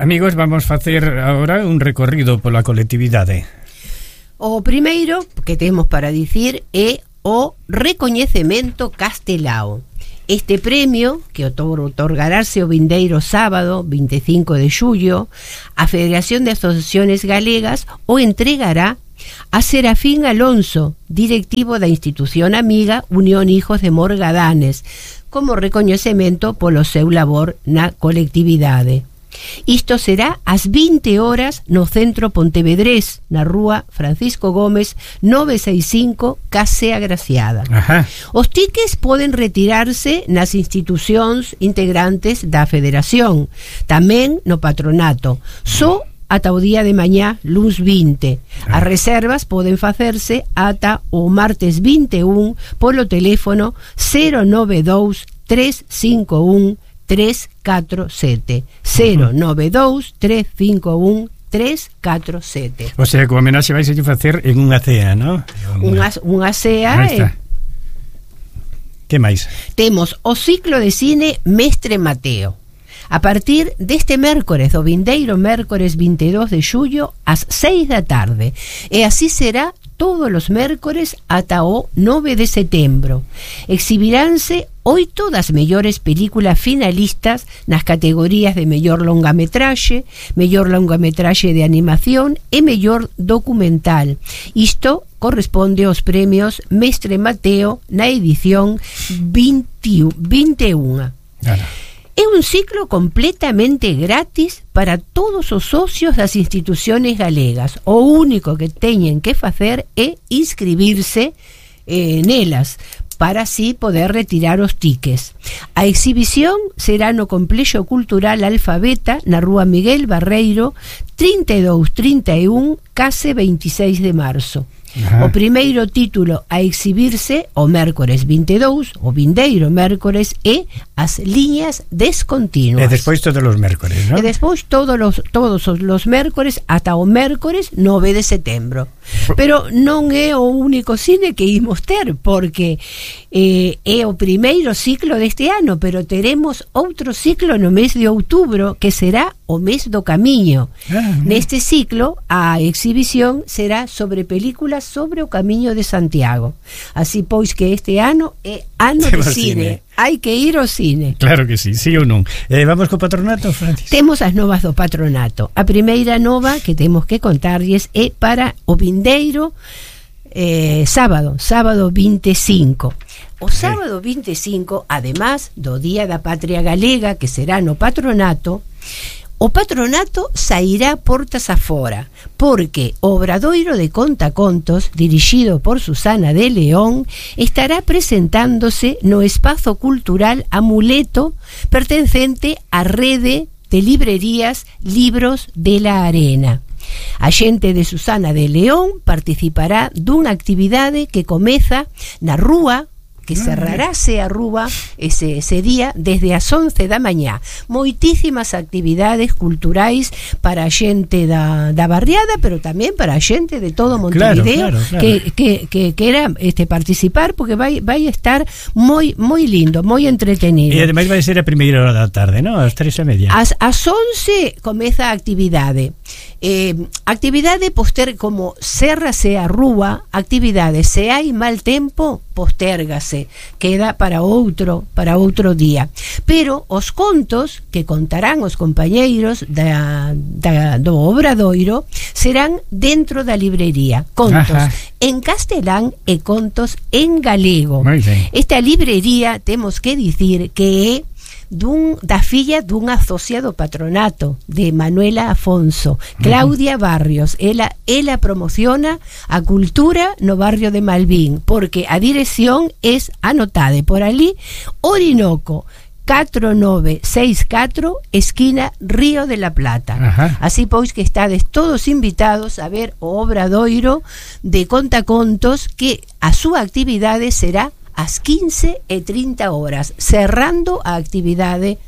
Amigos, vamos facer agora un recorrido pola colectividade. O primeiro que temos para dicir é o recoñecemento Castelao. Este premio, que otorgarase o vindeiro sábado 25 de xullo, a Federación de Asociaciones Galegas o entregará a Serafín Alonso, directivo da institución amiga Unión Hijos de Morgadanes, como recoñecemento polo seu labor na colectividade. Isto será ás 20 horas no centro pontevedrés, na rúa Francisco Gómez 965, Case Agraciada. Ajá. Os tickets poden retirarse nas institucións integrantes da federación, tamén no patronato, só ata o día de mañá, luns 20. As reservas poden facerse ata o martes 21 polo teléfono 092 351 347 092 351 347. O sea, que o homenaxe vais a facer en unha cea, ¿no? Unha cea. Que máis? Temos o ciclo de cine Mestre Mateo. A partir deste mércores, o vindeiro mércores 22 de xullo ás 6 da tarde. E así será todos os mércores ata o 9 de setembro. Exhibiránse 8 das mellores películas finalistas nas categorías de mellor longametraxe de animación e mellor documental. Isto corresponde aos premios Mestre Mateo na edición 21. Claro. É un ciclo completamente gratis para todos os socios das instituciones galegas. O único que teñen que facer é inscribirse nelas, para así poder retirar os tickets. A exhibición será no Complexo Cultural Alfabeta, na rúa Miguel Barreiro 3231, Case 26 de marzo. Ajá. O primeiro título a exhibirse o mércores 22, o vindeiro mércores, é As liñas descontinuas. E despois todos os mércores, ¿no? E despois todos os mércores ata o mércores 9 de setembro. Pero non é o único cine que imos ter, porque é o primeiro ciclo deste ano, pero teremos outro ciclo no mes de outubro, que será o mes do camiño. Neste ciclo, a exhibición será sobre películas sobre o Camiño de Santiago. Así pois que este ano é ano de cine. Hai que ir ao cine. Claro que sí, sí ou non. Vamos co patronato, Francis? Temos as novas do patronato. A primeira nova que temos que contarlles é para o vindeiro sábado 25. O sábado 25, además do Día da Patria Galega, que será no patronato, o patronato sairá portas afora, porque o Obradoiro de Contacontos, dirixido por Susana de León, estará presentándose no espazo cultural Amuleto, pertencente á rede de librerías Libros de la Arena. A xente de Susana de León participará dunha actividade que comeza na rúa, que cerrarase a rúa ese día desde as 11 da mañá. Moitísimas actividades culturais para a xente da barriada, pero tamén para a xente de todo Montevideo, claro. que quera participar, porque vai estar moi lindo, moi entretenido. E ademais vai ser a primeira hora da tarde, ¿no? Ás 3:30. Ás 11 comeza a actividade. Actividade poster, como cerrase a rúa, actividade, se hai mal tempo, postérgase, queda para outro día. Pero os contos que contarán os compañeiros do Obradoiro serán dentro da librería. Contos en castelán e contos en galego. Esta librería, temos que dicir que é da filla dunha socia do patronato, de Manuela Afonso, Claudia Barrios. Ela promociona a cultura no barrio de Malvín, porque a dirección es anotada por ali, Orinoco 4964, esquina Río de la Plata. Ajá. Así pois que estades todos invitados a ver o Obradoiro de Contacontos, que a súa actividade será ás 15:30 horas, cerrando a actividade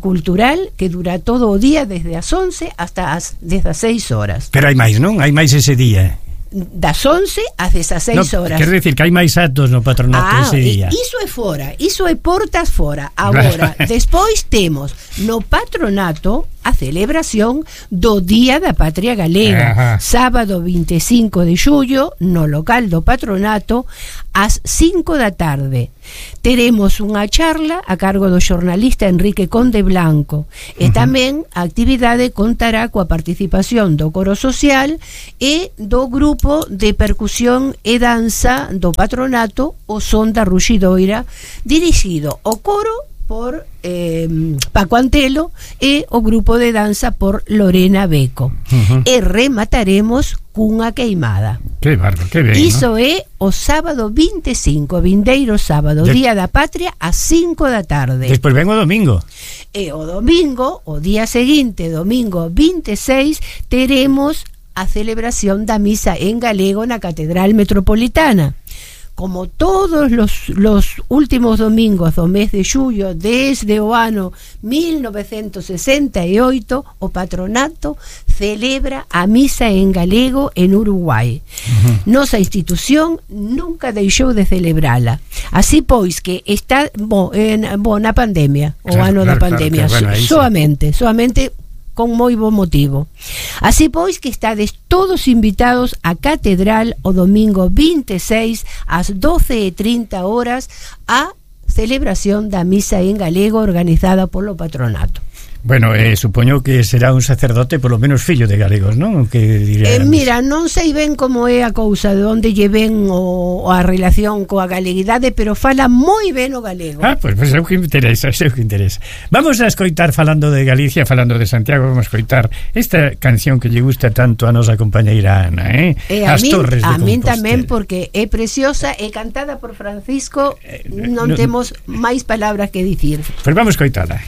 cultural que dura todo o día desde as 11 hasta as 16 horas. Pero hai máis, non? Hai máis ese día. Das 11 ás 16 horas. Quer decir que hai máis actos no patronato ese día. Iso é fora, iso é portas fora. Agora, despois temos no patronato a celebración do Día da Patria Galega. Sábado 25 de xullo, no local do Patronato, ás 5 da tarde. Teremos unha charla a cargo do xornalista Enrique Conde Blanco, e tamén a actividade contará coa participación do coro social e do grupo de percusión e danza do Patronato, o Son da Ruxidoira, dirixido o coro por Paco Antelo e o grupo de danza por Lorena Beco. E remataremos cunha queimada. Que barba, que ben, Iso é o sábado 25, vindeiro sábado, Día da Patria, ás 5 da tarde. Despois ven o domingo. E o domingo, o día seguinte, domingo 26, teremos a celebración da misa en galego na Catedral Metropolitana. Como todos los últimos domingos do mes de xullo desde o ano 1968, o Patronato celebra a misa en galego en Uruguai. Nosa institución nunca deixou de celebrala. Así pois que está na pandemia, o ano da pandemia, bueno, soamente con moi bo motivo. Así pois que estades todos invitados á Catedral o domingo 26 ás 12:30 horas a celebración da misa en galego organizada polo Patronato. Bueno, supoño que será un sacerdote polo menos fillo de galegos, non? Que mira, non sei ben como é a cousa, de onde lle ven a relación coa galeguidade, pero fala moi ben o galego. Pois é o que interesa, Vamos a escoitar, falando de Galicia, falando de Santiago, vamos a escoitar esta canción que lle gusta tanto a nosa compañeira Ana, As Torres de Compostela. A min tamén, porque é preciosa, é cantada por Francisco, non temos máis palabras que dicir. Pois vamos a escoitala.